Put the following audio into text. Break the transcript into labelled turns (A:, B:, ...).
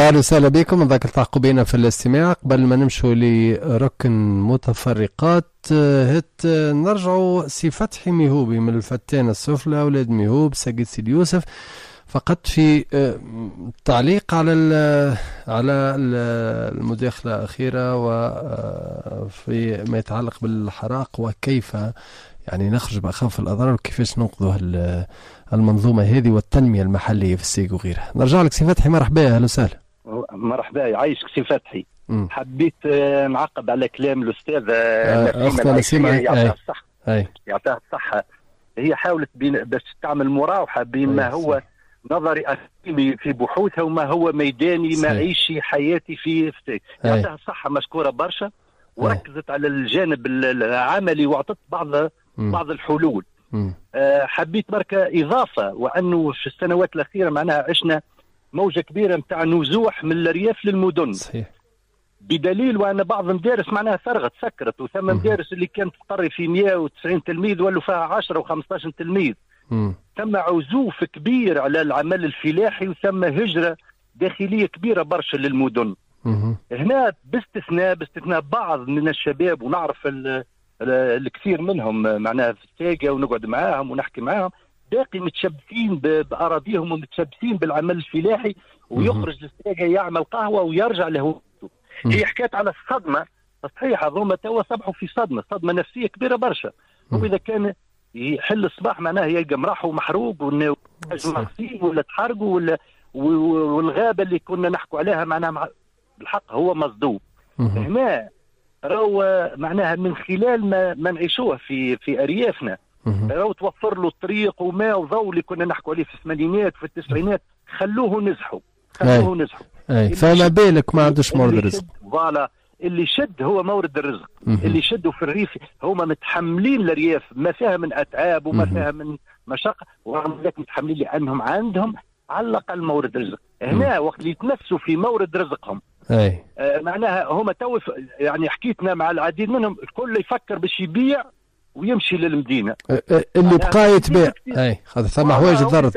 A: اهلا وسهلا بكم، نذكر التحقوا بنا في الاستماع. قبل ما نمشوا لركن متفرقات، هت نرجعوا سي فتحي ميهوبي من الفتانة السفلى، أولاد ميهوب، ساقية سيدي يوسف، فقط في تعليق على المداخلة الأخيرة وفي ما يتعلق بالحراق وكيف يعني نخرج بأخف الأضرار وكيفاش ننقذوا المنظومة هذه والتنمية المحلية في الساقية وغيرها. نرجع لك سي فتحي، مرحبا، أهلا وسهلا.
B: مرحبا، يعيشك سي فتحي. حبيت نعقب على كلام الأستاذ
A: نسيمة.
B: نسيمة، يعطيها الصحة، يعطيها الصحة. هي حاولت باش تعمل مراوحة بين ما هو نظري أكاديمي في بحوثها وما هو ميداني معيشي حياتي في يعطيها الصحة، مشكورة برشا، وركزت على الجانب العملي واعطت بعض الحلول. حبيت بركة إضافة، وأنه في السنوات الأخيرة معناها عشنا موجة كبيرة نتاع نزوح من الأرياف للمدن. بدليل وأن بعض المدارس معناها فرغت، سكرت، وثم مدارس اللي كانت تقري في 190 تلميذ ولوا فيها 10 و15 تلميذ. ثم عزوف كبير على العمل الفلاحي، وثم هجرة داخلية كبيرة برشا للمدن. هنا باستثناء بعض من الشباب، ونعرف الكثير منهم معناها في الساقية ونقعد معاهم ونحكي معاهم، باقي متشبثين بأراضيهم ومتشبثين بالعمل الفلاحي، ويخرج للساقية يعمل قهوة ويرجع لهوته. هي حكات على الصدمة، صحيح، هذوما توا صبحوا في صدمة نفسية كبيرة برشا. وإذا كان يحل الصباح معناها يلقى مراحه محروق ولا تحرقوا ولا والغابة اللي كنا نحكوا عليها معناها بالحق هو مصدوم. هنا راهو معناها من خلال ما نعيشوه في اريافنا، راهو توفر له الطريق وماء وضوء اللي كنا نحكوا عليه في الثمانينات وفي التسعينات، خلوه نزحوا، خلوه نزحوا.
A: اي، فما بالك ما عندوش مورد الرزق.
B: voilà، اللي شد هو مورد الرزق. اللي شدوا في الريف هما متحملين الارياف ما فيها من اتعاب وما فيها من مشقه، ورغم ذلك متحملين لانهم عندهم على الاقل مورد رزق. هنا وقت اللي يتنفسوا في مورد رزقهم، معناها هما تو يعني حكيتنا مع العديد منهم، الكل يفكر باش يبيع ويمشي للمدينه.
A: اللي بقى يتباع، اي، خاطر ثم حوايج تضرت.